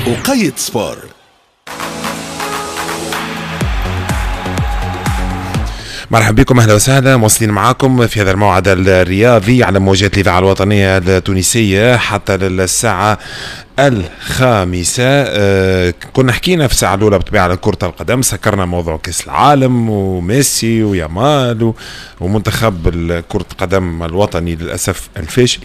وقيت sport. مرحبا بكم، اهلا وسهلا، مواصلين معاكم في هذا الموعد الرياضي على موجات الاذاعة الوطنية التونسية حتى للساعة 5. كنا حكينا في الساعة الاولى بالطبيعة على كره القدم، سكرنا موضوع كاس العالم وميسي ويامال ومنتخب كره القدم الوطني للاسف الفاشل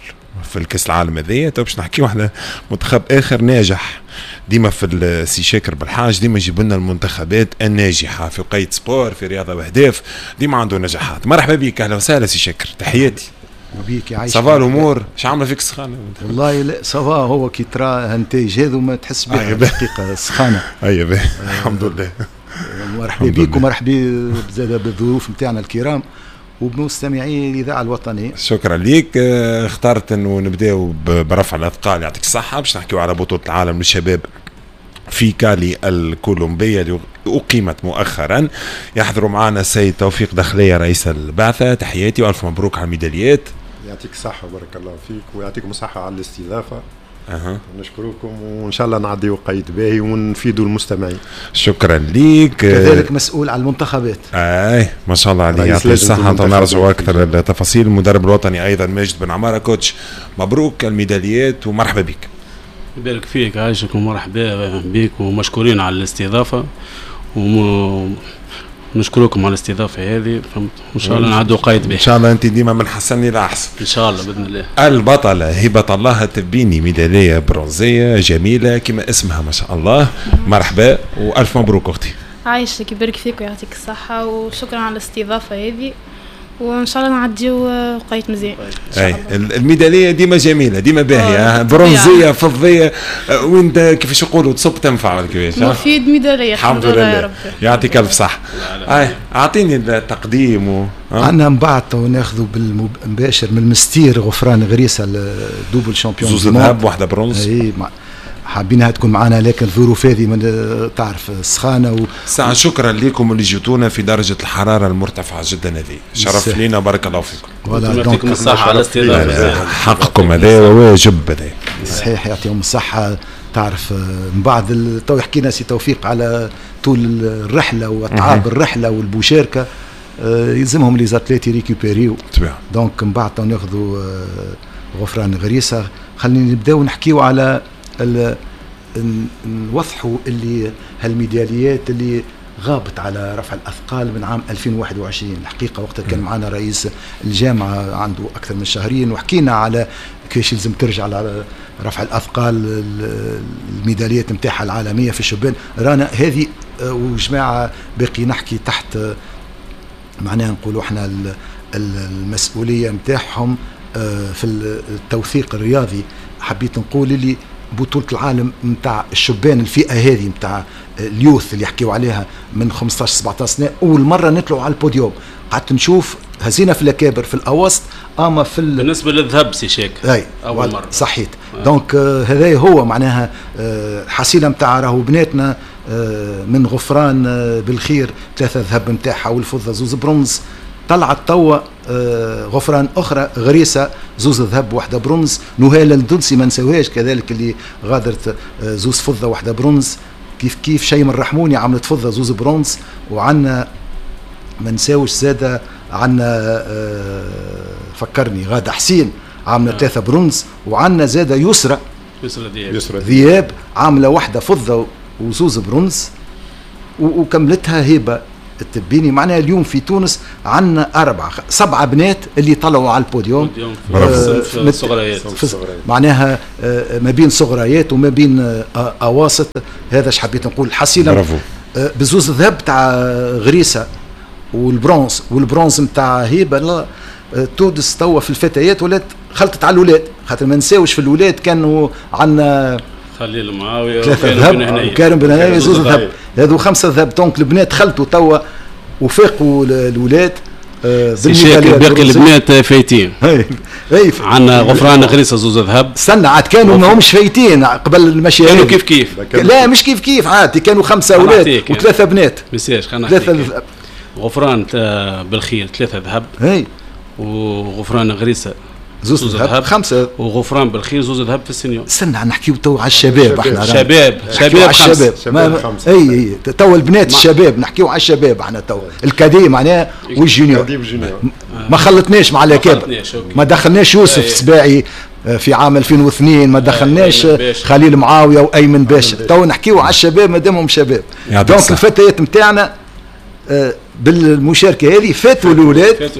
في الكاس العالم هذايا. تو باش نحكيو على منتخب اخر ناجح ديما في السي شاكر بالحاج، ديما يجيب لنا المنتخبات الناجحة في قيد sport، في رياضة واهداف، ديما عنده نجاحات. مرحبا بك، اهلا وسهلا سي شاكر، تحياتي. وبيك يعيشك. ça va الامور؟ اش عامله فيك السخانه؟ والله لا ça va، هو كي ترى هالنتائج هذو ما تحس بها الحقيقة السخانه. ايوه الحمد لله. مرحبا بك ومرحبا زاد بالضيوف نتاعنا الكرام وبمستمعي الاذاعة الوطنية. شكرا ليك. اخترت انه نبداو برفع الاثقال، يعطيك الصحة، باش نحكيو على بطوله العالم للشباب في كالي الكولومبيه اللي اقيمت مؤخرا. يحضروا معنا السيد توفيق دخليه رئيس البعثة، تحياتي والف مبروك على الميداليات. يعطيك الصحة وبارك الله فيك ويعطيكم الصحة على الاستضافة. نشكركم وان شاء الله نعديو قيد باهي ونفيدوا المستمعين. شكرا ليك. كذلك مسؤول على المنتخبات. اي ما شاء الله عليه، يعطيه الصحة. نرجعوا اكثر التفاصيل. المدرب الوطني ايضا ماجد بن عمارة، coach مبروك الميداليات ومرحبا بك. يبارك فيك، عايشك ومرحبا بك ومشكورين على الاستضافة ونشكركم على الاستضافة هذه، فهمت؟ وان شاء الله نعدوا قايد به. ان شاء الله انت ديما من حسن الى احسن. ان شاء الله باذن الله. البطلة هبه الله التبيني، ميدالية برونزيه جميلة كما اسمها ما شاء الله. مرحبا والف مبروك اختي. عايشك، يبارك فيك ويعطيك الصحة وشكرا على الاستضافة هذه، وان شاء الله نعديو وقيت مزيان. اي الميداليه ديما جميلة، ديما باهيه، برونزيه فضية، وين كيفاش يقولوا تصب تنفع ولا كيفاش؟ مفيد ميدالية الحمد لله يا رب. يعطيك الف صحة. اي اعطيني التقديم عندنا من بعد ناخذوا بالمباشر من المستير غفران غريسه، ال double champion، زوز ذهب واحدة برونز. اي حابينها تكون معنا لكن الظروف هذه من تعرف السخانه ساعة. شكرا لكم اللي جيتونا في درجة الحرارة المرتفعة جدا هذه، شرف لينا بارك الله فيكم. يعطيكم الصحة على الاستضافة، حقكم هذا وواجب هذا. صحيح يعطيهم الصحة. تعرف من بعد تو حكينا سي توفيق على طول الرحلة وأتعاب الرحلة والمشاركة، يلزمهم les athlètes يريكوبيريو. donc من بعد ناخذوا غفران غريسة. خلينا نبداو نحكيو على نوضحوا اللي هالميداليات اللي غابت على رفع الاثقال من عام 2021. الحقيقة وقتها كان معنا رئيس الجامعة عنده اكثر من شهرين وحكينا على كيفاش لازم ترجع على رفع الاثقال الميداليات نتاعها العالمية في الشبان. رانا هذه وجماعه باقي نحكي تحت معناها نقولوا احنا المسؤولية نتاعهم في التوثيق الرياضي. حبيت نقول اللي بطولة العالم نتاع الشبان الفئة هذه نتاع ال youth اللي يحكيو عليها من 15 17 سنة، أول مرة نطلعوا على البوديوم. قعدت نشوف هزينا في الأكابر في الأواسط، أما في بالنسبة للذهب سي شاكر أول مرة صحيت. donc هذا هو معناها حصيلة نتاع راهو بناتنا من غفران بالخير 3 ذهب نتاعها والفضة 2 برونز. طلعت توا غفران اخرى غريسه 2 ذهب 1 برونز. نهال الدنسي ما نساوهاش كذلك اللي غادرت 2 فضة 1 برونز. كيف كيف شيم الرحموني عملت فضة 2 برونز. وعندنا ما نساوش زاده عندنا فكرني غاده حسين عامله 3 برونز. وعندنا زاده يسرى ذياب عامله 1 فضة و2 برونز وكملتها هبه التبيني. معناها اليوم في تونس عندنا 7 بنات اللي طلعوا على البوديوم في صغريات، معناها ما بين صغريات وما بين اواسط. هذا اش حبيت نقول. حصيله بزوز الذهب تاع غريسه والبرونز والبرونز نتاع هبه. تونس توا في الفتيات ولات خلطت على الاولاد، خاطر ما نساوش في الاولاد كانوا عندنا خليل معاوية 3 ذهب وكارم بن هنايا 2 ذهب، هذو 5 ذهب. donc البنات خلطوا توا وفاقوا الاولاد بالميداليات. باقي البنات فايتين. عندنا غفران غريسه 2 ذهب. استنى عاد كانوا ما همش فايتين قبل المشي، كانوا كيف كيف. لا مش كيف كيف عاد كانوا 5 اولاد و3 بنات. ما خلينا نحكي. غفران بالخير 3 ذهب. وغفران غريسه زوز ذهب، 5، وغفران بالخير 2 ذهب في ال senior. استنى نحكيو تو على الشباب، احنا شباب 5، اي تو البنات الشباب نحكيو على الشباب احنا تو ال cadets معناها وال juniors. ما خلطناش مع الاكابر، ما دخلناش يوسف السباعي في عام 2002، ما دخلناش خليل معاوية وايمن باشا. تو نحكيو على الشباب مادامهم شباب. donc الفتيات نتاعنا بالمشاركة هذه فاتوا الاولاد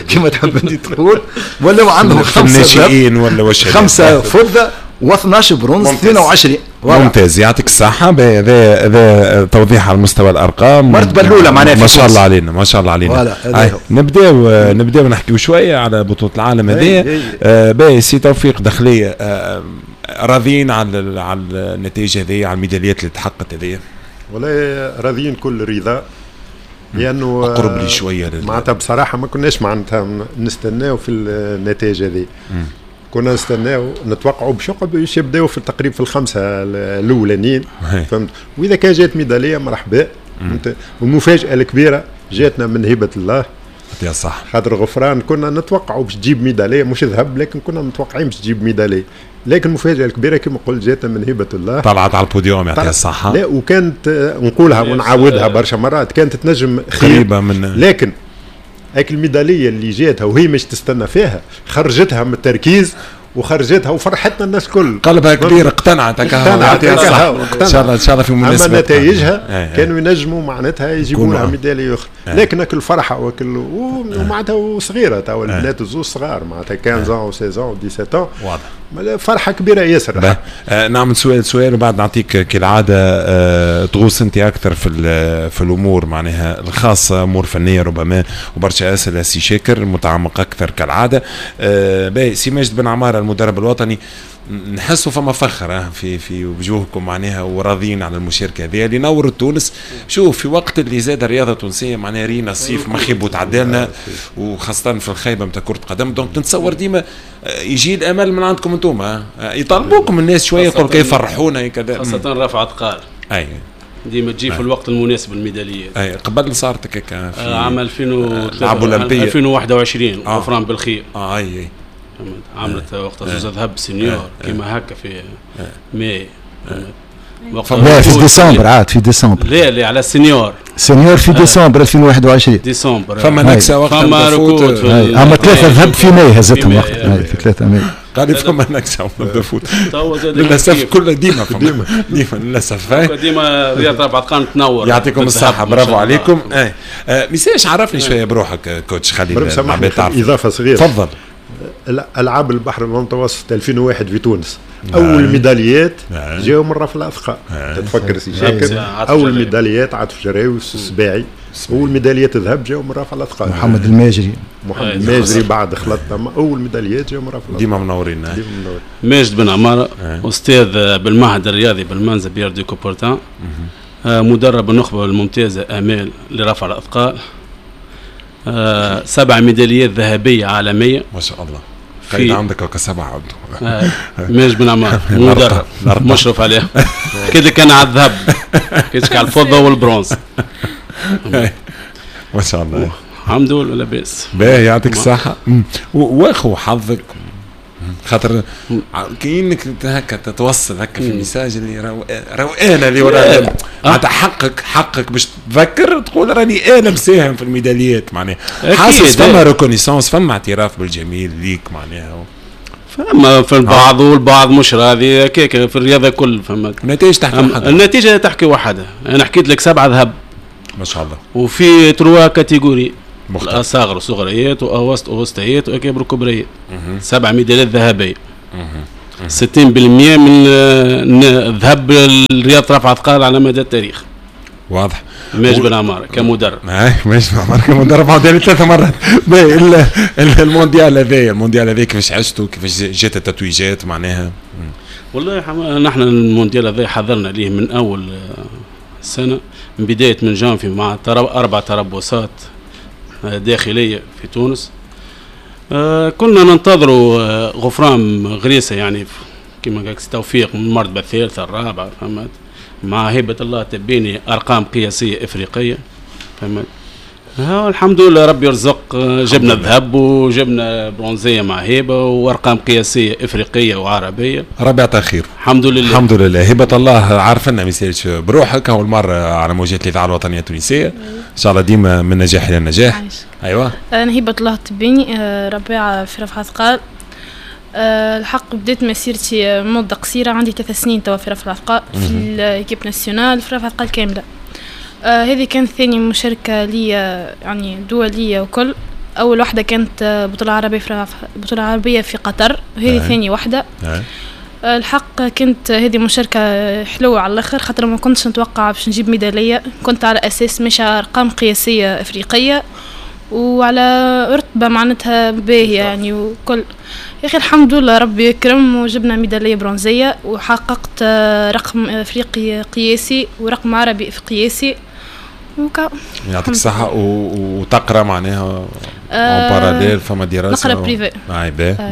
كما تحب انت تقول، ولاو عندهم 5 ناشئين ولا 5 فضة و12 برونز، 22. ممتاز، يعطيك الصحة. هذا توضيح على مستوى الأرقام. المرتبة الأولى معناها ما شاء الله علينا، ما شاء الله علينا. نبداو نحكيو شوية على بطولة العالم هذه. باهي سي توفيق دخلية، راضيين على النتائج هذه، على الميداليات اللي تحققت هذه؟ والله راضيين كل رضا، لأنه أقرب لي شوية معناتها بصراحة ما كناش معناتها نستناو في النتائج هذه. كنا نستناو نتوقعوا باش يبداو في التقريب في 5 الاولانيين، فهمت؟ واذا كان جات ميدالية مرحبا. والمفاجاه الكبيرة جاتنا من هبه الله، يا صح، خاطر غفران كنا نتوقعوا باش تجيب ميدالية مش ذهب، لكن كنا متوقعين باش تجيب ميدالية، لكن المفاجاة الكبيرة كما قلت جاتنا من هبه الله، طلعت على البوديوم يعطيها الصحة. لا وكانت نقولها ونعاودها برشا مرات، كانت تنجم خير من، لكن هاك الميداليه اللي جاتها وهي مش تستنى فيها خرجتها من التركيز وخرجتها وفرحتنا الناس الكل، قلبها كبير، اقتنعت ان شاء الله، ان شاء الله في مناسبة. اما نتائجها كانوا ينجموا معناتها يجيبوا لها ميدالية اخرى، لكن كل فرحه وكل ومعناتها صغيرة تو البنات الزوز صغار معناتها 15 و 16 و 17، واضح فرحه كبيرة ياسر. نعمل سؤال وبعد نعطيك كالعادة تغوص انت اكثر في الامور معناها الخاصة، امور فنية ربما وبرشا اسئلة سي شاكر متعمق اكثر كالعادة. باهي سي ماجد بن عمارة المدرب الوطني، نحسوا فما فخر في وجوهكم معناها وراضيين على المشاركة هذه اللي نورت تونس. شوف في وقت اللي زاد الرياضة التونسية معناها رينا الصيف ما خيب وتعدلنا، وخاصة في الخيبه نتاع كره قدم، donc نتصور ديما يجي الامل من عندكم انتم، يطالبوكم الناس شوية يقول كيف يفرحونا كذا، خاصة رفع اثقال. اي ديما تجي في الوقت المناسب الميداليات. اي قبل صارت هكاك في عام 2021 غفران بالخير. اي عملت وقتها زوز ذهب senior كيما هكا في ماي، لا في ديسمبر، عاد في ديسمبر، لا على ال senior، senior في ديسمبر 2021 ديسمبر. فما نكسه وقتها، فما ركود، اما 3 ذهب في ماي هزتهم وقتها، في 3 ماي قال فما نكسه ونبدا فوت للاسف، كل ديما ديما للاسف ديما رياضة رفع اثقال تنور. يعطيكم الصحة، برافو عليكم. ميساش عرفني شوية بروحك coach، خلي العباد تعرف. اضافه صغيرة، تفضل. العاب البحر المتوسط 2001 في تونس، اول ميداليات جاوا من رفع الاثقال، تتفكر سي شاكر، اول ميداليات عاطف جراوي والسباعي، اول ميداليات ذهب جاوا من رفع الاثقال. محمد الماجري، محمد الماجري بعد خلط، اول ميداليات جاوا من رفع الاثقال. ديما منورين. ماجد بن عمارة، استاذ بالمعهد الرياضي بالمنزل بيير دي كوبرتان، مدرب النخبة الممتازة امال لرفع الاثقال، 7 ميداليات ذهبية عالمية ما شاء الله. في عندك هكا 7 عنده ماجد بن عمار مدرب مشرف عليه كده، كان على الذهب كده على الفضة والبرونز ما شاء الله، الحمد لله لاباس. باهي يعطيك الصحة. واخو حظك خاطر كاينك هكا تتوصل هكا في ال message اللي راهو انا اللي ورا معناتها حقك باش تذكر تقول راني انا مساهم في الميداليات معناها، حاسس فما reconnaissance، فما اعتراف بالجميل ليك معناها، فما في البعض والبعض مش راضي هكاك في الرياضة كل. فما النتائج تحكي وحدها، النتيجة تحكي وحدها. انا حكيت لك 7 ذهب ما شاء الله، وفي 3 catégories، الاصاغر وصغريات واوسط ووسطيات واكابر كبريات، 7 ميداليات ذهبية، 60% من ذهب الرياض رفع اثقال على مدى التاريخ. واضح. ماجد بن عمارة كمدرب. ماجد بن عمارة كمدرب عاودني 3 مرات. المونديال هذايا، المونديال هذا كيفاش عشتوا، كيفاش جات التتويجات معناها؟ والله نحن المونديال هذا حضرنا ليه من اول سنة، من بداية من جانفي مع 4 تربصات داخلية في تونس. كنا ننتظروا غفران غريسه يعني كما قالك توفيق من المرتبة الثالثة الرابعة، فهمت، مع هبه الله تبيني ارقام قياسية افريقية، فهمت. الحمد لله ربي يرزق، جبنا الذهب وجبنا برونزيه مع هبه وارقام قياسية افريقية وعربية. ربي يعطيها خير. الحمد لله. الحمد لله. هبه الله عارفنا ما يسالش بروحك، اول مرة على موجات الاذاعة الوطنية التونسية، ان شاء الله ديما من نجاح الى نجاح. ايوه. انا هبه الله التبيني، ربيعة في رفع اثقال. الحق بديت مسيرتي مده قصيرة، عندي 3 سنين توا في رفع الاثقال في l'équipe nationale في رفع الاثقال كاملة. هذه كانت ثاني مشاركة لي يعني دولية وكل. أول واحدة كانت بطولة عربية في بطولة عربية في قطر، وهذه ثاني واحدة. الحق كانت هذه مشاركة حلوة على الآخر، خاطر ما كنتش نتوقع باش نجيب ميدالية، كنت على أساس مش أرقام قياسية أفريقية وعلى رتبة معناتها باهية يعني وكل. يا أخي الحمد لله ربي يكرم وجبنا ميدالية برونزية وحققت رقم أفريقي قياسي ورقم عربي قياسي. يعطيك الصحة. وتقرا معناها en parallèle، فما دراسة؟ نقرا privé.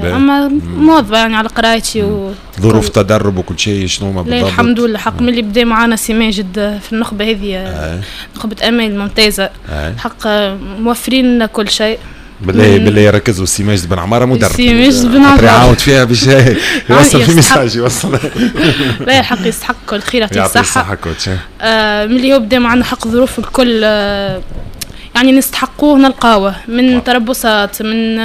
اما مواظبة يعني على قرايتي. ظروف تدرب وكل شيء شنو ما بالضبط؟ الحمد لله حق من اللي بدا معانا سي ماجد في النخبة هذه، نخبة أمال الممتازة، حق موفرين لنا كل شيء. بالله بالله يركزوا، سي ماجد بن عمارة مدرب. سي ماجد بن عمارة يعاود فيها باش يوصل في message يوصل. لا الحق يستحق كل خير، يعطيه الصحة. الصحة coach. ملي هو بدا معنا حق ظروف الكل يعني نستحقوه نلقاوه من تربصات، من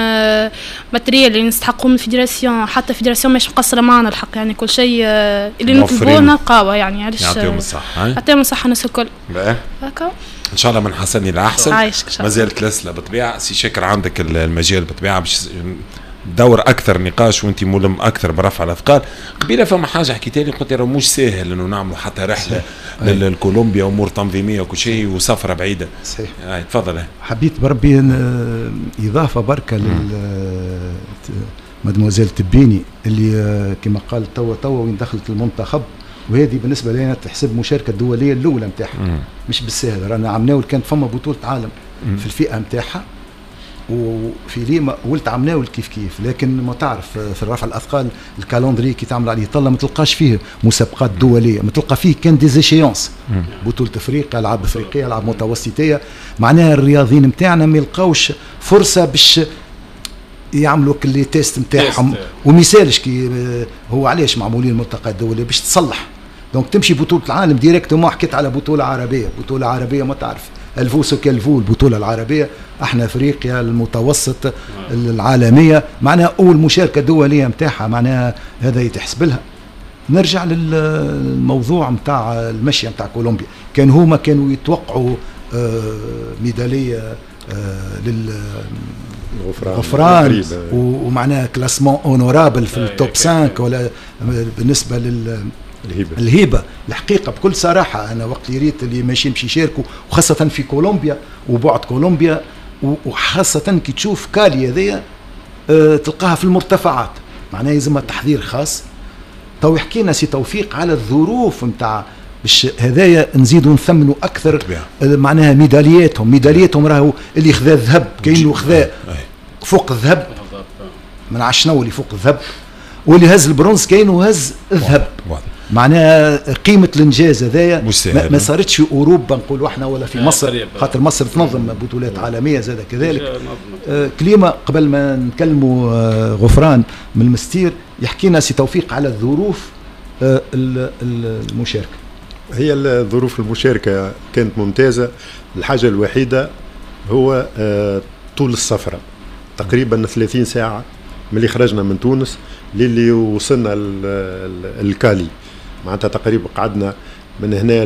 matériel اللي نستحقوه من fédération، حتى fédération مش مقصرة معنا الحق يعني كل شيء اللي نطلبوه نلقاوه يعني. علاش يعطيهم الصحة. يعطيهم الصحة الناس الكل. هكا ان شاء الله من حسن الى احسن. عايشك. ما زالت الاسئلة بالطبيعة. سي شاكر عندك المجال بالطبيعة باش دور اكثر نقاش وانت ملم اكثر برفع الاثقال. قبيلة فما حاجة حكيتها لي، قلت لي مش ساهل انه نعملوا حتى رحله للكولومبيا، امور تنظيميه وكل شيء وسفره بعيدة. صحيح. تفضل. حبيت بربي اضافه بركة لل مادموزيل تبيني اللي كما قال توا وين دخلت المنتخب، وهذه بالنسبة لنا تحسب مشاركة الدولية الاولى نتاعها، مش بالسهل. رانا عمناول كانت فما بطوله عالم في الفئة نتاعها وفي ليما ولت عمناول كيف كيف، لكن ما تعرف في الرفع الاثقال ال calendrier كي تعمل عليه طله ما تلقاش فيه مسابقات دولية، ما تلقى فيه كان des échéances، بطوله افريقيا، العاب افريقية، العاب متوسطيه. معناها الرياضيين نتاعنا ما يلقاوش فرصة باش يعملوا كل les tests نتاعهم. ومثالش كي هو علاش معمولين الملتقى الدولي باش تصلح. donc تمشي بطوله العالم directement. حكيت على بطوله عربية، بطوله عربية ما تعرف elle vaut ce qu'elle vaut البطولة العربية، احنا افريقيا المتوسط العالمية، معناها اول مشاركة دولية نتاعها، معناها هذا يتحسب لها. نرجع للموضوع نتاع المشية نتاع كولومبيا، كان هما كانوا يتوقعوا ميدالية للغفران ومعناها classement honorable في ال top 5 ولا بالنسبة الهبة. الحقيقة بكل صراحة انا وقت اللي ريت اللي ماشيين باش يشاركوا، وخاصة في كولومبيا وبعد كولومبيا، وخاصة كي تشوف كالي هذيا تلقاها في المرتفعات، معناها يلزمها تحضير خاص. تو يحكي لنا سي توفيق على الظروف نتاع باش هذايا نزيدوا نثمنوا اكثر، معناها ميدالياتهم راهو اللي خذا الذهب كاينه خذا فوق الذهب، من عشنو اللي فوق الذهب، واللي هز البرونز كاينه هز الذهب. معناها قيمة الانجاز هذايا ما صارتش في اوروبا نقولوا احنا ولا في مصر، خاطر مصر تنظم بطولات عالمية زاد كذلك. كلمة قبل ما نكلموا غفران من المستير، يحكي لنا سي توفيق على الظروف المشاركة. هي الظروف المشاركة كانت ممتازة. الحاجة الوحيدة هو طول السفرة، تقريبا 30 ساعة من اللي خرجنا من تونس للي وصلنا الكالي، معناتها تقريبا قعدنا من هنا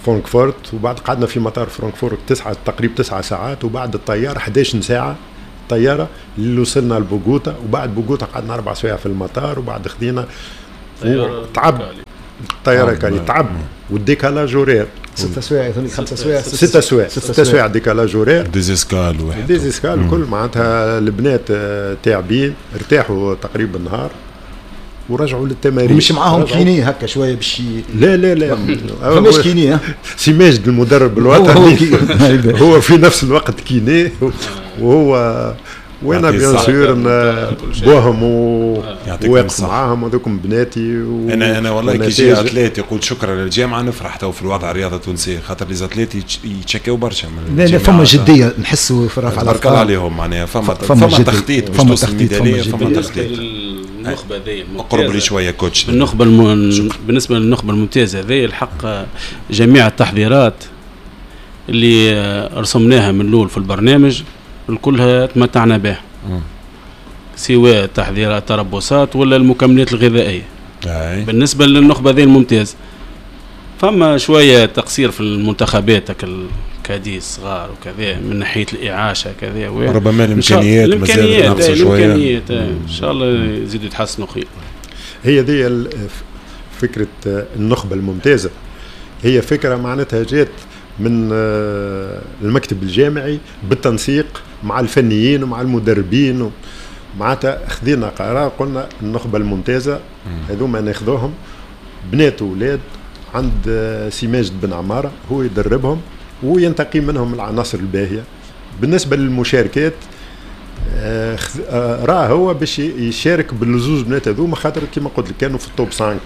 فرانكفورت، وبعد قعدنا في مطار فرانكفورت تقريبا 9 ساعات، وبعد الطيارة 11 ساعة طيارة اللي وصلنا لبوغوتا، وبعد بوغوتا قعدنا 4 سوايع في المطار، وبعد خدينا تعب الطيارة كالي تعب، وال décalage horaire 6 سوايع 5 سوايع 6 سوايع 6 سوايع décalage horaire، des escales واحد des escales الكل، معناتها البنات تعبين، ارتاحوا تقريبا النهار ورجعوا للتمارين. مش معاهم kiné هكا شوية باش لا لا لا فماش kiné. سي ماجد المدرب الوطني هو في نفس الوقت kiné، وهو وانا bien sûr بوهم وواقف معاهم وذوكم بناتي. انا والله كي يجي athlète يقول شكرا للجامعة نفرح تو في الوضع الرياضة التونسية، خاطر les athlètes يتشكاو برشا من لا لا فما جدية نحسوا في رفع الاثقال، تبارك الله عليهم، معناها فما تخطيط باش توصل الميداليه، فما تخطيط. النخبة هذه اقرب لي شوية coach. النخبة بالنسبة للنخبه الممتازة هذه الحق جميع التحضيرات اللي رسمناها من الاول في البرنامج الكلها تمتعنا بها، سواء تحضيرات تربصات ولا المكملات الغذائية. بالنسبة للنخبه ذي الممتاز فما شوية تقصير في المنتخبات ال cadets الصغار وكذا من ناحية الاعاشه كذا، ربما الامكانيات الامكانيات الامكانيات ان شاء الله يزيدوا يتحسنوا خير. هي دي فكرة النخبة الممتازة، هي فكرة معناتها جات من المكتب الجامعي بالتنسيق مع الفنيين ومع المدربين، معناتها خذينا قرار قلنا النخبة الممتازة هذوما ناخذوهم بنات واولاد عند سي ماجد بن عمارة، هو يدربهم وينتقي منهم العناصر الباهيه. بالنسبة للمشاركات راه هو باش يشارك بالزوز بنات هذوما، خاطر كيما قلت لك كانوا في ال top 5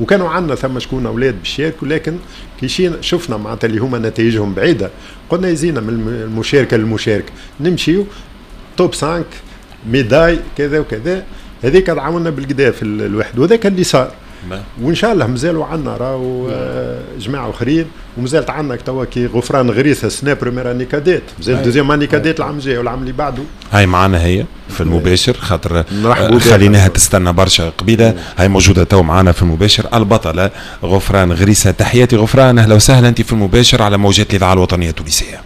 وكانوا عندنا ثم شكون اولاد باش يشاركوا، لكن كي شفنا معناتها اللي هما نتائجهم بعيدة قلنا يزينا من المشاركة للمشاركة، نمشيو top 5 médaille كذا وكذا، هذيك تعاوننا بالكدا في الواحد، وذاك اللي صار. وان شاء الله مازالوا عندنا راهو جماعة اخرين، ومازالت عندنا توا كي غفران غريسه سنة première année cadette، مازال deuxième année cadette العام الجاي والعام اللي بعده. هاي معنا هي في المباشر، خاطر خليناها تستنى برشا قبيلة، هاي موجودة تو معنا في المباشر البطلة غفران غريسه. تحياتي غفران، اهلا وسهلا، انت في المباشر على موجات الاذاعة الوطنية التونسية.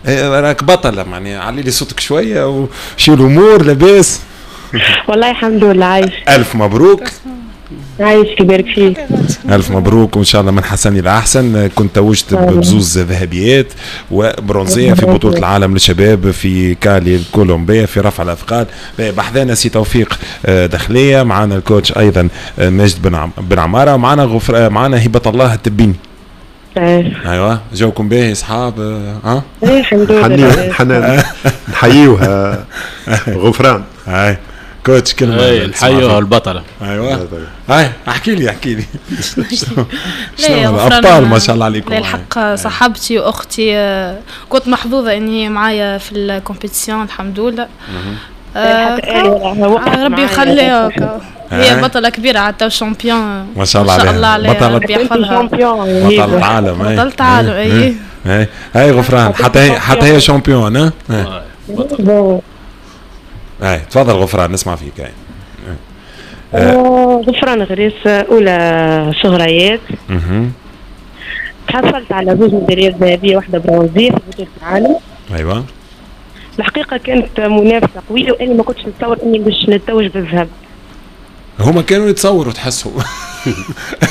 راك بطلة، معني علي لي صوتك شوية وشو الامور لاباس؟ والله الحمد لله، عايش. ألف مبروك. عايش يبارك فيك. ألف مبروك وإن شاء الله من حسن إلى أحسن. كنت توجت بزوز ذهبيات وبرونزية في بطولة العالم للشباب في كالي الكولومبية في رفع الأثقال. بحذانا سي توفيق دخلية، معنا ال coach أيضا ماجد بن عمارة، ومعنا معنا هبة الله التبيني. ايوه جوكم باهي اصحاب؟ ها؟ الحمد لله. حنا نحيوها غفران. هاي coach كلمة نحيوها البطلة. ايوه هاي احكي لي احكي لي. شنو الابطال ما شاء الله عليكم. الحق صاحبتي واختي، كنت محظوظة اني معايا في ال compétition الحمد لله. ربي يخليها، هي بطلة كبيرة على championne ما شاء الله عليها، بطلة ربي يحفظها، بطلة عالم. بطلة عالم. اي هاي غفران حتى هي championne. هاي تفضل غفران نسمع فيك. هاي غفران غريس، اولى صغريات. تحصلت على زوج ميداليات ذهبية واحدة برونزيه في بطوله العالم. ايوه الحقيقة كانت منافسه قوية، واني ما كنتش نتصور اني باش نتوج بالذهب. هما كانوا يتصوروا تحسوا.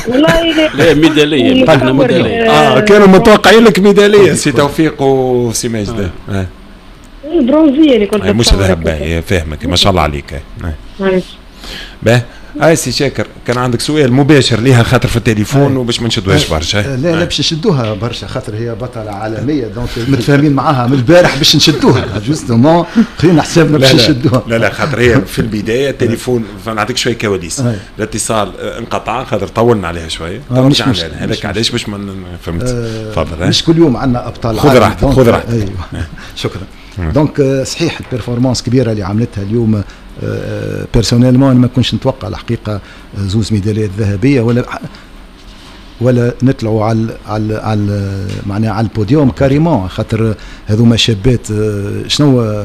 والله لا ميدالية، احنا ميدالية. كانوا متوقعين لك ميدالية سي توفيق وسي ماجد. البرونزيه اللي كنت مش ذهب. فاهمك ما شاء الله عليك. باه هاي سي شاكر كان عندك سؤال مباشر ليها خاطر في التليفون وباش ما نشدوهاش برشا. لا لا باش نشدوها برشا خاطر هي بطلة عالمية، donc متفاهمين معاها من البارح باش نشدوها justement، خلينا حسابنا باش نشدوها. لا لا خاطر هي في البداية التليفون، فنعطيك شوية كواليس، الاتصال انقطع خاطر طولنا عليها شوية، هذاك علاش باش ما فهمت. تفضل. مش كل يوم عندنا ابطال. خذ راحتك خذ راحتك. ايوه شكرا. donc صحيح ال performance كبيرة اللي عملتها اليوم. personnellement انا ما كنتش نتوقع الحقيقة زوز ميداليات ذهبية ولا نطلعوا على على على معناها على ال podium carrément، خاطر هذوما شابات شنو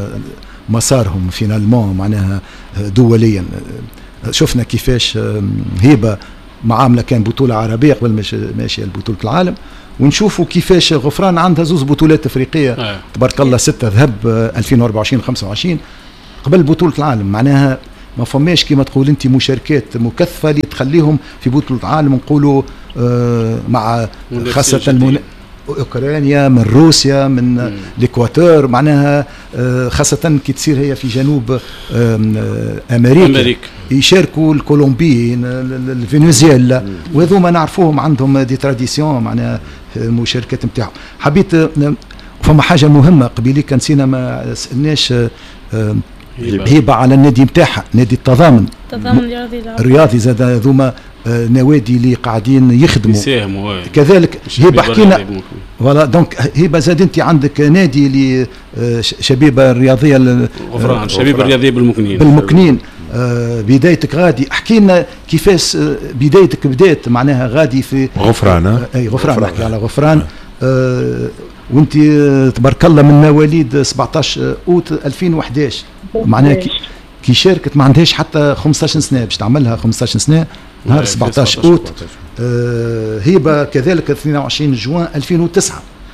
مسارهم finalement معناها دوليا. شفنا كيفاش هبه معاملة كان بطوله عربية قبل ماشية لبطولة العالم، ونشوفوا كيفاش غفران عندها زوز بطولات افريقية تبارك الله، 6 ذهب 2024 25 قبل بطولة العالم. معناها ما فماش كما تقول انت مشاركات مكثفة اللي تخليهم في بطولة العالم نقولوا مع خاصة اوكرانيا من روسيا من الاكواتور، معناها خاصة كي تصير هي في جنوب امريكا يشاركوا الكولومبيين الفنزويلا، وهذوما نعرفوهم عندهم des traditions معناها المشاركات نتاعهم. حبيت فما حاجة مهمة قبيلي نسينا ما سالناش هبه على النادي نتاعها، نادي التضامن الرياضي زاد، هذوما نوادي اللي قاعدين يخدموا يساهموا كذلك. هبه حكينا voilà، donc هبه زاد انت عندك نادي اللي شبيبة الرياضية غفران، شبيبة الرياضية بالمكنين. بالمكنين بدايتك غادي، احكي لنا كيفاش بدايتك بدات معناها غادي في غفران. اي غفران، نحكي على غفران. وانت تبارك الله من مواليد 17 اوت 2011، معناها كي شاركت ما عندهاش حتى 15 سنة، باش تعملها 15 سنة نهار 17 اوت. هبه كذلك 22 جوان 2009،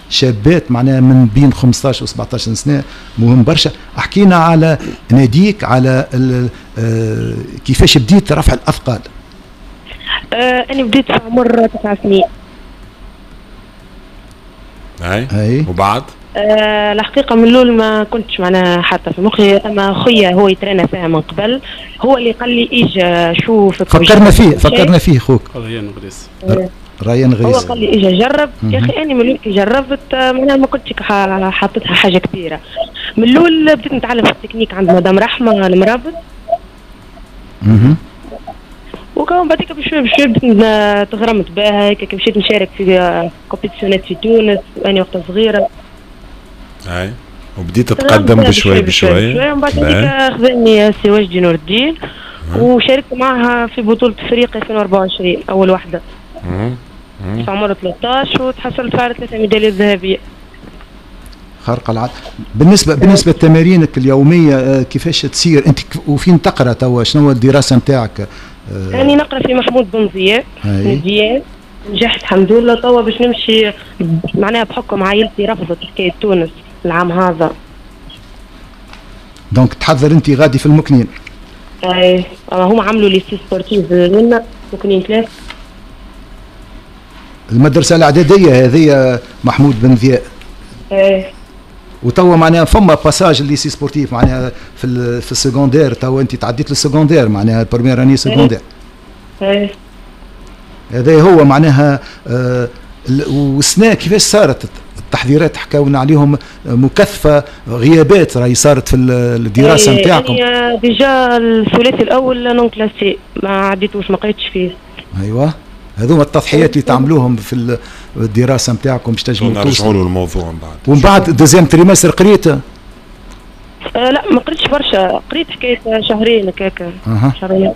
شابات معناها من بين 15 و 17 سنة، مهم برشا. احكينا على ناديك، على كيفاش بديت رفع الاثقال. انا بديت في عمر 9 سنين. اي وبعد؟ الحقيقة من الأول ما كنتش معناها حاطة في مخي، أما خويا هو يترينا فيها من قبل، هو اللي قال لي إيجا شوف. فكرنا فيه خوك ريان غريس. ريان غريس هو قال لي إيجا جرب. يا أخي أنا من الأول كي جربت معناها ما كنتش حاطتها حاجة كبيرة. من الأول بديت نتعلم في التكنيك عند مدام رحمة المرابط. وكمان بعديك بشوي بشوي بديت تغرمت بها، هيك مشيت نشارك في compétition ات في تونس وأنا وقتها صغيرة. اي وبديت تتقدم بشوي بشوي. ومن بعد هذيك خذني سي وجدي نور الدين وشاركت معها في بطولة افريقيا 2024 أول واحدة. في عمر 13 وتحصلت على 3 ميداليات ذهبية. خارقة العادة. بالنسبة لتمارينك اليومية كيفاش تصير أنت وفين تقرأ توا، شنو الدراسة نتاعك؟ أنا نقرأ في محمود بن ضياء مزيان، نجحت الحمد لله. توا باش نمشي معناها بحكم عائلتي رفضت حكاية تونس العام هذا. donc تحضر انت غادي في المكنين. اي هما عملوا lycée sportif لنا مكنين 3. المدرسة الإعدادية هذه محمود بن ضياء. اي وتوا معناها فما passage lycée sportif معناها في ال secondaire، توا انت تعديت لل secondaire معناها première année secondaire. اي هذا هو معناها. والسنة كيفاش صارت التحضيرات؟ حكاونا عليهم مكثفة، غيابات راهي صارت في الدراسة نتاعكم. يعني déjà الثلاثي الاول non classé ما عديتوش، ما قريتش فيه. ايوه هذوما التضحيات اللي تعملوهم في الدراسة نتاعكم باش تنجموا نرجعوا للموضوع من بعد. ومن بعد deuxième trimestre قريت؟ لا ما قريتش برشا، قريت حكاية شهرين هكاك. شهرين.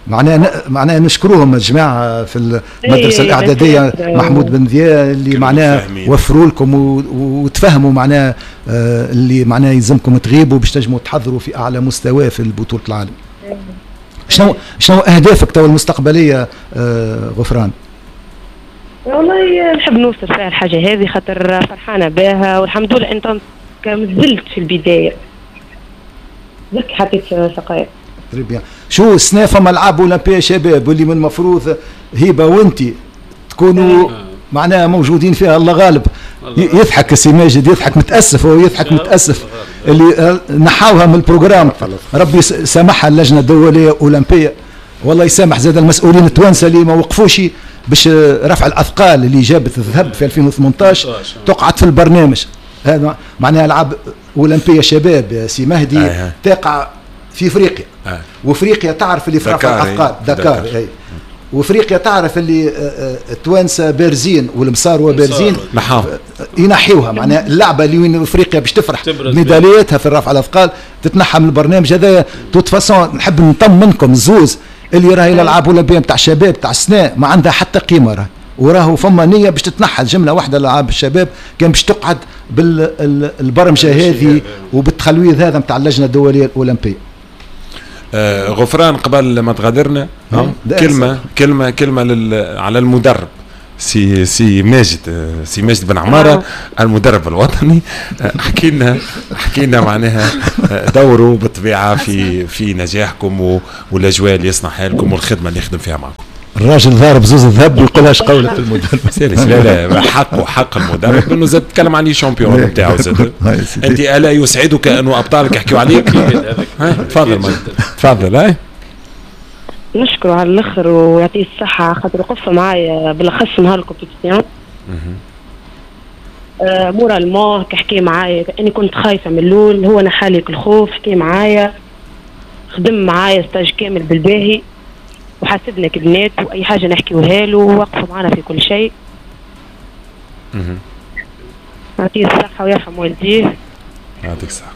معناها نشكروهم الجماعة في المدرسة الاعدادية محمود بن ضياء اللي معناها وفروا لكم وتفهموا معناها اللي معناها يلزمكم تغيبوا باش تنجموا تحضروا في اعلى مستوى في بطوله العالم. شنو اهدافك تو المستقبلية غفران؟ والله نحب نوصل فيها الحاجة هذه خاطر فرحانة بها والحمد لله. انت مازلت في البداية، درك حطيت سقايا. très bien. شو السنة فما العاب اولمبيه شباب واللي من المفروض هبه وانت تكونوا معناها موجودين فيها. الله غالب. يضحك السي ماجد، يضحك متاسف، هو يضحك متاسف اللي نحاوها من ال programme. ربي سامحها اللجنة الدولية الاولمبية، والله يسامح زاد المسؤولين التوانسة اللي ما وقفوش باش رفع الاثقال اللي جابت الذهب في 2018 تقعد في البرنامج هذا. معناها العاب اولمبيه شباب يا سي مهدي تقع في افريقيا. وافريقيا تعرف اللي في رفع الاثقال دكار. اي وافريقيا تعرف اللي التوانسة بارزين والمصاروه بارزين، ينحيوها معناها اللعبة اللي وين افريقيا باش تفرح ميدالياتها في الرفع الاثقال تتنحى من البرنامج هذا. toute façon نحب نطمنكم زوز اللي راهي الالعاب الاولمبية نتاع الشباب تاع السنة ما عندها حتى قيمة، راهي وراهو فما نيه باش تتنحى جملة واحدة الالعاب الشباب كان باش تقعد بالبرمجة هذه وبالتخلويض هذا نتاع اللجنة الدولية الاولمبية. غفران قبل ما تغادرنا كلمة كلمة كلمة على المدرب سي ماجد، سي ماجد بن عمارة المدرب الوطني. حكي لنا معناها دوره بالطبيعة في نجاحكم والاجواء اللي يصنعها لكم والخدمة اللي يخدم فيها معكم. الراجل ضارب زوز الذهب ويقولهاش قولة المدرب. لا لا حقه، حق المدرب انه زاد تكلم عن champion نتاعو زاد. انت الا يسعدك انه ابطالك يحكيوا عليك؟ تفضل تفضل. هاي نشكره على الاخر ويعطيه الصحة خاطر وقف معايا بالاخص نهار ال compétition. moralement كحكي معايا، اني كنت خايفة من الاول، هو نحالي الخوف، حكي معايا، خدم معايا stage كامل بالباهي، وحاسبنا كبنات واي حاجة نحكيوها له، ووقفوا معنا في كل شيء. يعطيه الصحة ويرحم والديه. يعطيك الصحة.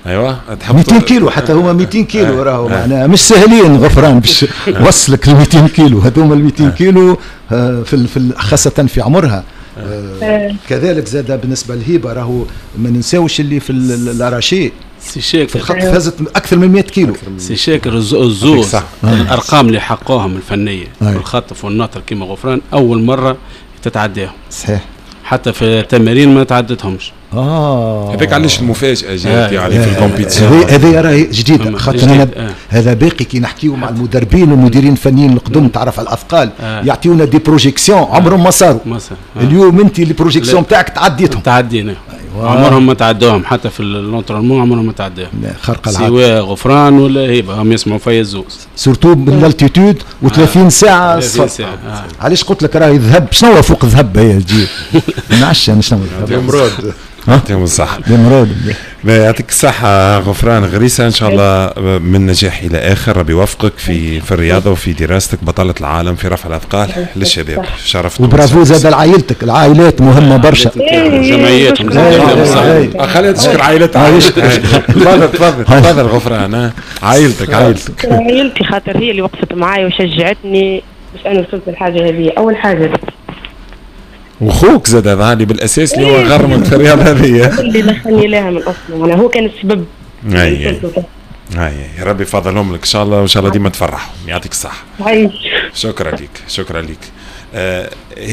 ايوه 200 كيلو، حتى هما 200 كيلو راهو معناها مش سهلين غفران باش وصلك ل 200 كيلو، هذوما ال 200 كيلو في خاصة في عمرها. كذلك زاد بالنسبة للهبه راهو ما ننساوش اللي في l'arraché سي شاكر في الخط فازت اكثر من 100 كيلو. سي شاكر الزوز الارقام اللي حققوهم الفنية في الخطف والنطر كيما غفران اول مرة تتعداهم. صحيح، حتى في التمارين ما تعدتهمش. هذاك علاش المفاجاة جات يعني في ال compétition هذه راهي جديدة، خاطر انا هذا باقي كي نحكيو مع المدربين والمديرين الفنيين القدم تعرف على الاثقال يعطيونا des projections عمرهم ما صاروا. اليوم انت les projections تاعك تعديتهم. تعدينا. أيوة. عمرهم ما تعدوهم حتى في l'entraînement، عمرهم ما تعداهم. خرق العادة سواء غفران ولا هبه، هم يسمعوا فيا الزوز surtout بال altitude و30 ساعة صفر. علاش قلت لك راهي ذهب، شنو فوق الذهب هي تجي؟ ما نعرفش انا شنو الذهب. يعطيهم الصحة. يعطيك الصحة غفران غريسة، إن شاء الله من نجاح إلى آخر، ربي يوفقك في الرياضة وفي دراستك، بطلة العالم في رفع الأثقال للشباب، شرفت. وبرافو زاد لعائلتك، العائلات مهمة برشا. جمعياتهم. خلينا تشكر عائلتها. تفضل تفضل تفضل غفران، عائلتك عائلتك. عائلتي خاطر هي اللي وقفت معايا وشجعتني باش أنا وصلت للحاجة هذه، أول حاجة. وخوك زاد هذا اللي بالاساس اللي هو غرمك في الرياضة هذه، اللي دخلني لها من اصلا، انا هو كان السبب. اي اي ربي يفضلهم لك ان شاء الله، وان شاء الله ديما تفرحهم. يعطيك الصحة. شكرا لك، شكرا لك.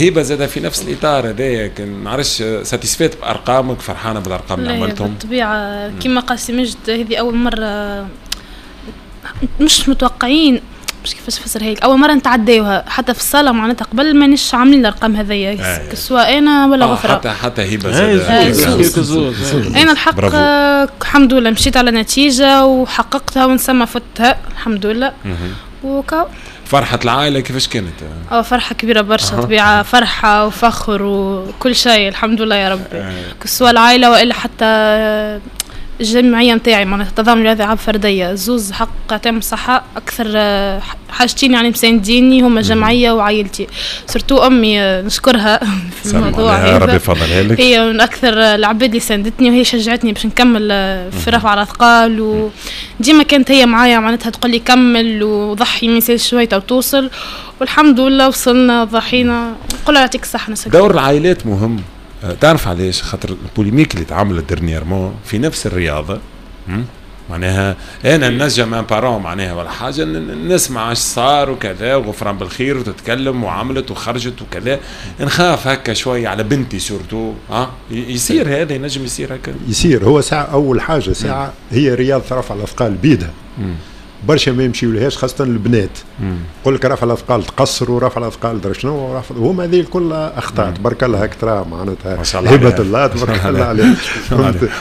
هبه زاد في نفس الاطار هذايا، ما نعرفش satisfaite بارقامك، فرحانة بالارقام اللي عملتهم؟ بالطبيعة كما قال سي مجد، هذه اول مرة مش متوقعين، مش كيفاش نفسرها لك، اول مرة نتعداوها حتى في الصاله، معناتها قبل مانيش عاملين الارقام هذيا سواء انا ولا غفران. حتى هبه زاد انا الحق الحمد لله مشيت على نتيجة وحققتها ونسمى فتها الحمد لله. وكا فرحه العائلة كيفاش كانت؟ فرحه كبيرة برشا، طبيعة فرحه وفخر وكل شيء الحمد لله يا ربي، سواء العائلة والا حتى الجمعية نتاعي معناتها التضامن الرياضي العاب فردية، زوز حق يعطيهم الصحة، اكثر حاجتين يعني مسانديني هما الجمعية وعائلتي، surtout امي نشكرها في الموضوع هذا، ربي يفضلها لك، هي من اكثر العباد اللي ساندتني وهي شجعتني باش نكمل في رفع الاثقال، وديما كانت هي معايا معناتها تقول لي كمل وضحي ما يسالش شوية وتوصل، والحمد لله وصلنا ضحينا، نقول لها يعطيك الصحة. دور العائلات مهم، تعرف علاش؟ خاطر ال polémique اللي تعملت dernièrement في نفس الرياضة، معناها انا نجم un parent معناها ولا حاجة نسمع اش صار وكذا، وغفران بالخير وتتكلم وعملت وخرجت وكذا، نخاف هكا شوية على بنتي surtout. يصير هذا، ينجم يصير هكا، يصير. هو ساعة اول حاجة ساعة هي رياضة رفع الاثقال بيدها برشا ما يمشيولهاش، خاصة البنات. يقول لك رفع الأثقال تقصر ورفع الأثقال درا شنو، وهما هذه الكل أخطاء. تبارك الله هاك ترى معناتها هبة الله تبارك الله عليه،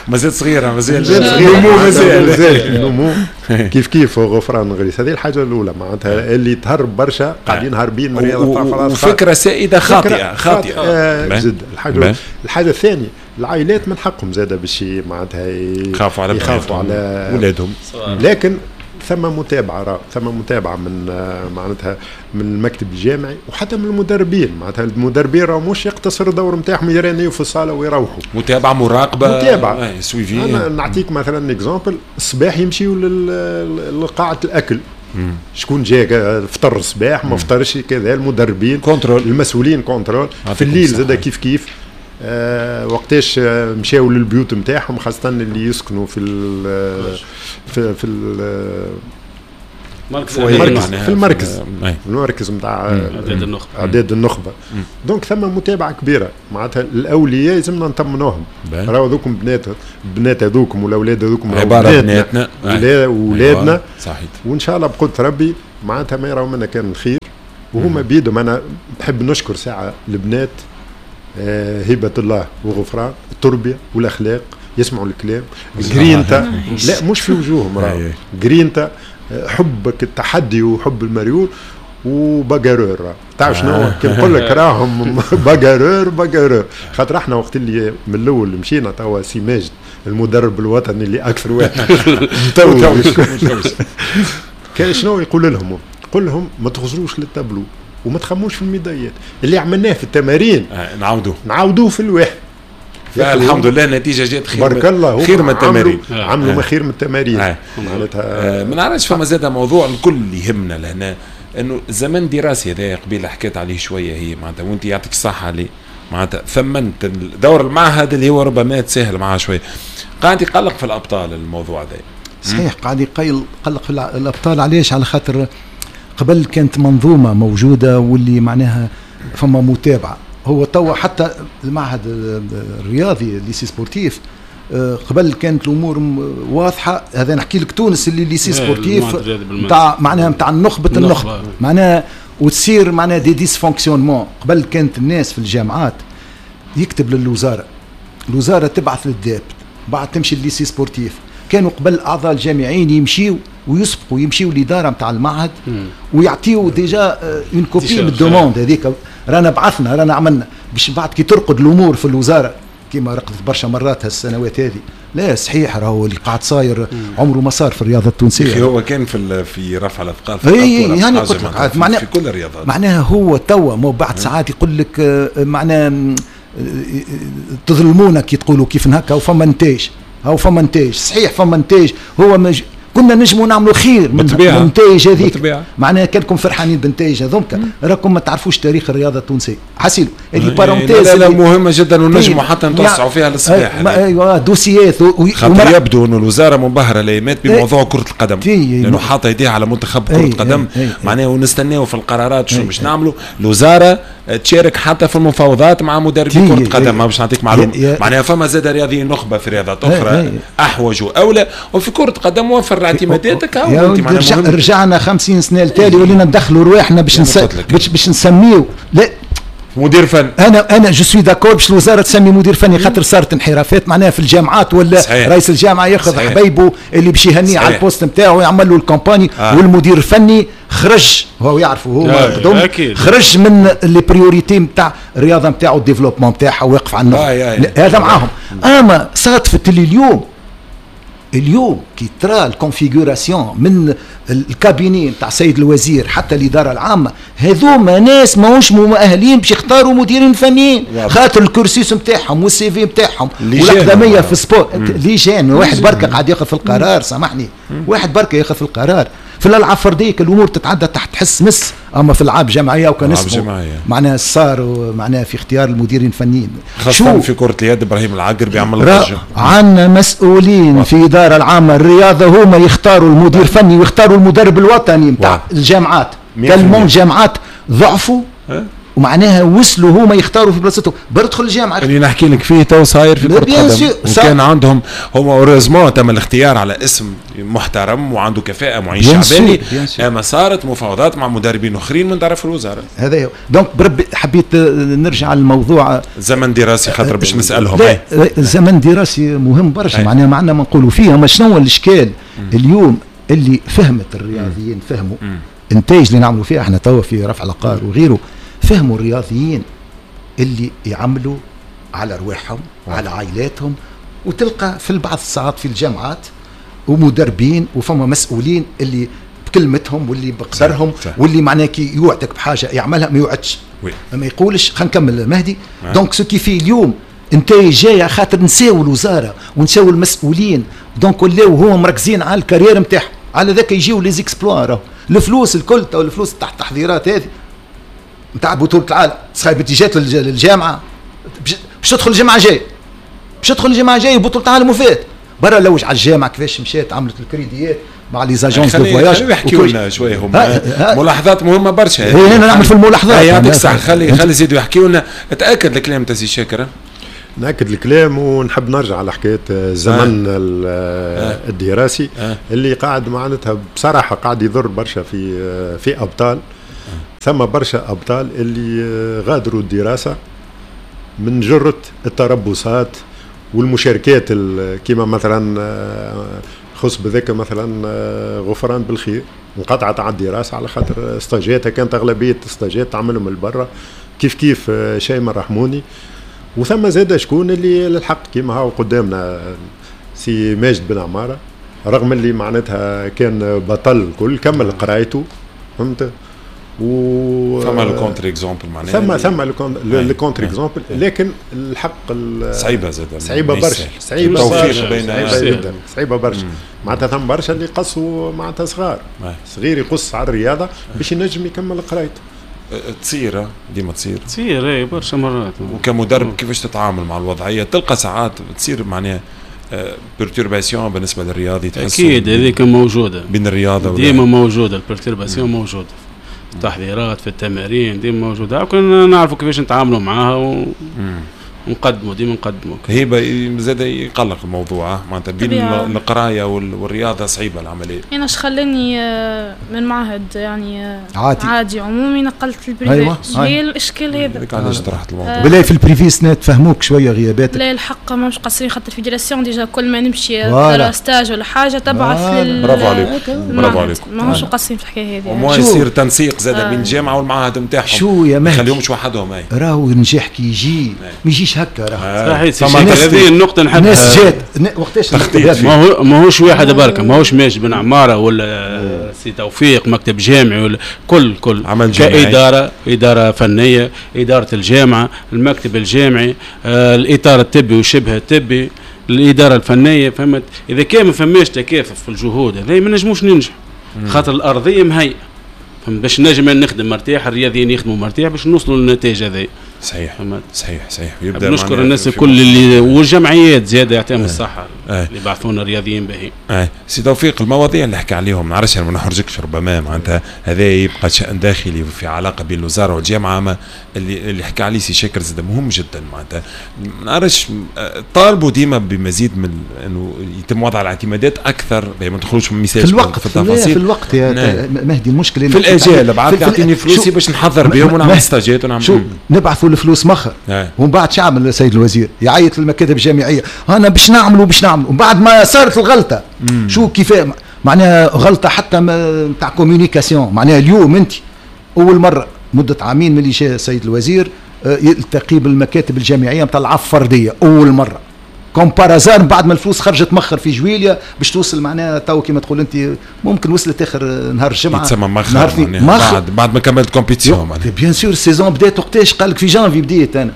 مازال صغيرة، مازال نمو، مازال نمو كيف كيف غفران غريس. هذه الحاجة الأولى معناتها اللي تهرب برشا، قاعدين هاربين من رياضة رفع الأثقال، وفكرة سائدة خاطئة خاطئة جدا. الحاجة الثانية العائلات من حقهم زادة باش معناتها يخافوا على ولادهم، لكن ثم متابعه، ثم متابعه من معناتها من المكتب الجامعي وحتى من المدربين. معناتها المدربين راهو مش يقتصر الدور نتاعهم يرانيو في الصاله ويروحوا، متابعه مراقبة، متابعه suivi. انا نعطيك مثلا exemple، الصباح يمشيو لقاعه الاكل، شكون جا فطر الصباح ما فطرش كذا، المدربين contrôle، المسؤولين contrôle. في الليل زاد كيف كيف، وقتاش مشاو للبيوت نتاعهم، خاصة اللي يسكنوا في ال في في المركز، في المركز المركز نتاع اعداد النخبة. donc ثم متابعه كبيرة معناتها الاولياء لازمنا نطمنوهم، راهو ذوكم بنات هذوكم والاولاد هذوكم عبارة بناتنا اولادنا، صحيح. وان شاء الله بقدره ربي معناتها ما يراو منا كان الخير، وهما بيدهم. انا نحب نشكر ساعة البنات، هبة الله وغفران، التربية والأخلاق، يسمعوا الكلام، جرينتا لا مش في وجوههم، راهو جرينتا، حبك التحدي وحب المريول. و bagarreurs. تعرف شنو كي نقول لك راهم bagarreurs bagarreurs، خاطر احنا وقت اللي من الاول مشينا توا سي ماجد المدرب الوطني اللي اكثر واحد كان شنو يقول لهم؟ يقول لهم ما تخزروش للتابلو وما تخموش في الميداليات، اللي عملناه في التمارين نعاودوه في الواحد. الحمد لله النتيجة جات خير، بارك الله، خير من التمارين، عملوا ما خير من التمارين. معناتها ما نعرفش، فما زاد موضوع الكل يهمنا لهنا، انه زمن دراسي هذا قبيلة حكيت عليه شوية، هي معناتها وانت يعطيك الصحة اللي معناتها ثمنت دور المعهد اللي هو ربما تسهل معاه شوية، قاعد يقلق في الابطال الموضوع هذا. صحيح قاعد يقلق في الابطال. علاش؟ على خاطر قبل كانت منظومة موجودة واللي معناها فما متابعه. هو توا حتى المعهد الرياضي lycée sportif قبل كانت الامور واضحة. هذا نحكي لك تونس اللي lycée sportif نتاع معناها نتاع النخبة، النخبة معناها، وتصير معناها des dysfonctionnements. قبل كانت الناس في الجامعات يكتب للوزارة، الوزارة تبعث لل DEP، بعد تمشي لل lycée sportif. كانوا قبل اعضاء الجامعين يمشيوا ويسبقوا، يمشيوا الادارة نتاع المعهد ويعطيوا déjà une copie من ال demande هذيك، رانا بعثنا رانا عملنا، باش بعد كي ترقد الامور في الوزارة كما رقدت برشا مرات هالسنوات هذه. لا صحيح راهو اللي قاعد صاير عمره ما صار في الرياضة التونسية. هو كان في رفع الاثقال في يعني قلت لك معناها في كل الرياضات، معناها هو توا مو بعد ساعات يقول لك معناها تظلمونا كي تقولوا كيف هكا وفما نتائج، او فما نتائج. صحيح فما نتائج، هو كنا نجموا نعملوا خير من النتائج هذيك، معناها كانكم فرحانين بالنتائج هذوك راكم ما تعرفوش تاريخ الرياضة التونسية. حسيلو هذه parenthèse لا مهمة جدا ونجموا حتى نتوسعوا فيها للصباح. ايوه dossiers خاطر يبدو انه الوزارة منبهره الايامات بموضوع كره القدم، لانه حاطه يديها على منتخب كره القدم معناها، ونستناو في القرارات شنو باش نعملوا. الوزارة تشارك حتى في المفاوضات مع مدربي كره القدم، ما باش نعطيك معلومة، معناها فما زاد رياضيين نخبة في رياضات اخرى احوج واولى، وفي كره القدم وفر اعتماداتك. رجعنا 50 سنة لتالي ولينا ندخلوا رواحنا باش نسميو لا مدير فني. انا je suis d'accord باش الوزارة تسمي مدير فني، خاطر صارت انحرافات معناها في الجامعات، ولا صحيح. رئيس الجامعة ياخذ حبيبه اللي باش يهنيه على ال poste نتاعو ويعمل له ال campagne. والمدير الفني خرج، هو يعرفه هو خرج من les priorités نتاع الرياضة نتاعو، ال développement نتاعها، واقف على النقطة هذا معاهم. اما صادفت اللي اليوم كي ترى ال configuration من ال cabinet نتاع سيد الوزير حتى الادارة العامة، هذوما ناس ماهوش مؤهلين باش يختاروا مديرين فنيين، خاطر ال cursus نتاعهم وال CV نتاعهم والاقدميه في ال sport لجان. واحد بركة قاعد ياخذ في القرار، سامحني، واحد بركة ياخذ في القرار. في الالعاب الفردية الامور تتعدى تحت حس مس، اما في العاب جماعية وكان اسمه معناها صار معناها في اختيار المديرين الفنيين، خاصة في كره اليد ابراهيم العقر بيعمل ضجه. عندنا مسؤولين في الادارة العامة الرياضة هما يختاروا المدير الفني ويختاروا المدرب الوطني نتاع الجامعات. tellement الجامعات ضعفوا ومعناها وصلوا هما يختاروا في بلاصتهم. بردخل الجامعة اللي نحكي لك فيه تو صاير في كره القدم، وكان عندهم هما heureusement تم الاختيار على اسم محترم وعنده كفاءة معين شعباني، اما صارت مفاوضات مع مدربين اخرين من طرف الوزارة. هذا هو. donc بربي حبيت نرجع للموضوع زمن دراسي، خاطر باش نسالهم. زمن دراسي مهم برشا، معناها ما عندنا ما نقولوا فيه. اما شنو هو الاشكال اليوم اللي فهمت الرياضيين، فهموا النتائج اللي نعملوا فيها احنا توا في رفع العقار وغيره، فهموا الرياضيين اللي يعملوا على ارواحهم على عائلاتهم، وتلقى في البعض الساعات في الجامعات ومدربين وفما مسؤولين اللي بكلمتهم واللي بقدرهم واللي معناه كي يوعدك بحاجة يعملها ما يوعدش، ما يقولش. خلينا نكمل مهدي. donc ce qui fait اليوم نتائج جاية خاطر نساو الوزارة ونساو المسؤولين، donc ولاو هما مركزين على ال carrière نتاعهم، على ذاك يجيو les exploits. الفلوس الكل تو الفلوس تاع التحضيرات هذه نتاع بطولة العالم صايب جات للجامعة باش تدخل الجامعة جاي، باش تدخل الجامعة جاي بطولة العالم وفات برا لوج على الجامعة كيفاش مشات عملت الكريديات مع les agences de voyage. خليهم يحكيوا لنا شوية هما ملاحظات مهمة برشا. انا نعمل في الملاحظات. يعطيك الصحة، خلي يزيدوا يحكيوا لنا. تأكد الكلام تاع سي شاكر؟ نأكد الكلام ونحب نرجع على حكاية الزمن الدراسي اللي قاعد معناتها بصراحة قاعد يضر برشا في أبطال. ثم برشا أبطال اللي غادروا الدراسة من جرة التربصات والمشاركات، كما مثلا خص بذاك مثلا غفران بالخير انقطعت على الدراسة على خاطر stage اتها كانت اغلبية stage ات تعملهم من برا، كيف كيف شيماء الرحموني. وثم زاد شكون اللي للحق كيما هاو قدامنا سي ماجد بن عمارة، رغم اللي معناتها كان بطل الكل كمل قرايته، فهمت؟ و ثم le contre-exemple معناها ثم le contre-exemple، لكن الحق صعيبة زاد، صعيبة برشا، صعيبة برشا جدا، صعيبة برشا. معناتها ثم برشا اللي قصوا معناتها صغار، صغير يقص على الرياضة باش ينجم يكمل قرايته. تصير ديما تصير اي برشا مرات. وكمدرب كيفاش تتعامل مع الوضعية؟ تلقى ساعات تصير معناها perturbation بالنسبة للرياضي، تحس اكيد هذيك موجودة بين الرياضة ديما موجودة ال perturbation موجودة في التحضيرات في التمارين ديما موجودة، كنا نعرفوا كيفاش نتعاملوا معاها ونقدموا ديما نقدموا. هيبة زاد يقلق الموضوع معناتها بين القراية والرياضة صعيبة العملية. انا اش خلاني من معهد يعني عادي عمومي نقلت ال privé. أيوة. هي الاشكال هذا علاش طرحت الموضوع. بالله في ال privé سنة تفهموك شوية غياباتك. لا الحق ماهمش قصرين، خاطر ال fédération déjà كل ما نمشي stage ولا حاجة تبعث لل برافو عليكم، برافو عليكم، ماهمش قصرين في الحكاية هذه. وما يصير تنسيق زاد بين الجامعة والمعهد نتاعهم. شو يا مهدي، خليهمش وحدهم. راهو النجاح كي يجي ما يجيش هكا، راه صحيح. هذه النقطة نحب الناس جات وقتاش ماهوش واحد بركة، ماهوش ماجد بن عمارة ولا سي توفيق مكتب جامعي ولا كل عمل كإدارة، إدارة فنية، إدارة الجامعة، المكتب الجامعي، الإطار الطبي وشبه الطبي، الإدارة الفنية، فهمت؟ إذا كان ما فماش تكافؤ في الجهود هذا ما نجموش ننجح، خاطر الأرضية مهيئة باش نجم نخدم مرتاح، الرياضيين يخدموا مرتاح باش نوصلوا للنتائج هذه. صحيح صحيح صحيح. يبدا نشكر الناس الكل اللي والجمعيات زاده يعطيهم الصحة اللي بعثونا رياضيين باهي. سي توفيق، المواضيع اللي حكى عليهم نعرفش ما نحرجكش ربما معناتها هذا يبقى شأن داخلي في علاقة بين الوزارة والجامعة، ما اللي حكى عليه سي شاكر زاد مهم جدا معناتها نعرفش طالبوا ديما بمزيد من انه يتم وضع الاعتمادات اكثر، ما ندخلوش في الوقت في التفاصيل في الوقت يا مهدي. المشكلة في الاجال بعد تعطيني فلوسي باش نحضر بهم ونعمل stage ات ونعمل شو نبعثوا الفلوس مخر، ومن بعد شو عمل السيد الوزير؟ يعيط للمكاتب الجامعية، انا باش نعملوا باش نعملوا، ومن بعد ما صارت الغلطة شو كيف معناها غلطه حتى نتاع communication. معناها اليوم انت اول مرة مده عامين من اللي جاء السيد الوزير يلتقي بالمكاتب الجامعية نتاع العاب فردية اول مرة comme par hasard، بعد ما الفلوس خرجت مخر في جويليا باش توصل معناها تو كيما تقول انت ممكن وصلت اخر نهار الجمعة يتسمى مخر بعد ما كملت compétition معناها bien sûr ال saison بدات وقتاش؟ قال لك في جانفي بديت انا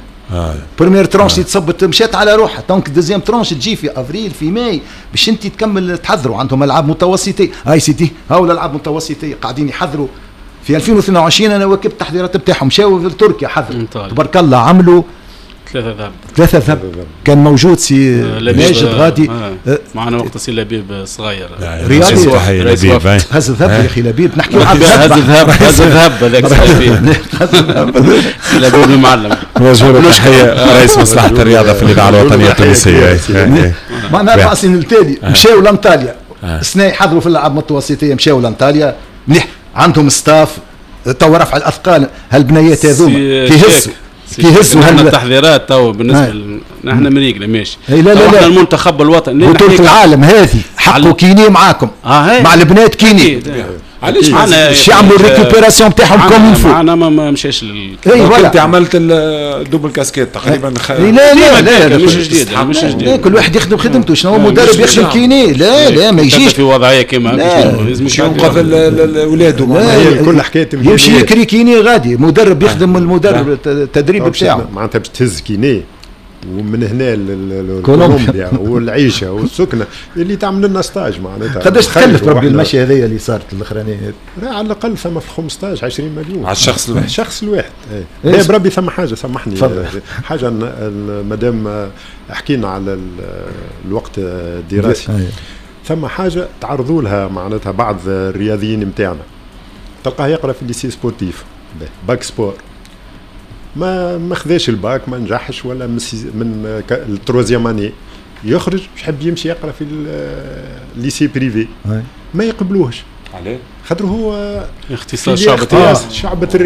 première tranche تصبت مشات على روحها، donc deuxième tranche تجي في افريل في ماي باش انت تكمل تحضروا. عندهم العاب متوسطيه، هاي سيدي هاو الالعاب المتوسطيه قاعدين يحضروا في 2022. انا واكبت التحضيرات نتاعهم، مشاو لتركيا حضروا تبارك الله، عملوا ثلاثة ذهب. كان موجود سي ماجد غادي معنا وقت سي لبيب صغير رياضي هز الذهب يا اخي لبيب، نحكيو على الذهب، هز الذهب هذاك سي لبيب المعلم. وجه تحية رئيس مصلحة الرياضة في الإذاعة الوطنية التونسية. معنا 4 سنين التالي مشاو لانطاليا السنة يحضروا في الألعاب المتوسطية، مشاو لانطاليا مليح، عندهم staff تو رفع الأثقال هالبنيات هذوما كيهزوا كيهزوا التحضيرات تو بالنسبة نحن مريقله ماشي. لا لا لا المنتخب الوطني بطولة العالم هذه حقوا kiné معاكم مع البنات kiné. علاش باش يعملوا ال récupération نتاعهم comme il faut. معنا ما مشاش انت عملت ال double casquette تقريبا. لا لا لا مش جديد، مش جديد، كل واحد يخدم خدمته. شنو هو مدرب يخدم kiné؟ لا لا ما يجيش في وضعية كيما لازم ينقذ اولاده. كل حكاية يمشي يكري kiné غادي، مدرب يخدم المدرب التدريب بتاعه معناتها باش تهز kiné ومن هنا لكولومبيا والعيشه والسكنه اللي تعمل لنا stage معناتها. قداش تكلف ربي المشي هذايا اللي صارت الاخرانية؟ على الاقل ثم في 15 20 مليون على الشخص الواحد. الشخص الواحد. ايه بربي ثم حاجة سامحني حاجة مادام حكينا على الوقت الدراسي، ثم حاجة تعرضوا لها معناتها بعض الرياضيين نتاعنا، تلقاه يقرا في lycée sportif bac sport، ما خذاش الباك، ما نجحش ولا من ال troisième année يخرج يحب يمشي يقرا في ال lycée privé، ما يقبلوهش. عليه؟ خاطر هو اختصاص شعبة الرياضة. شعبة الرياضة.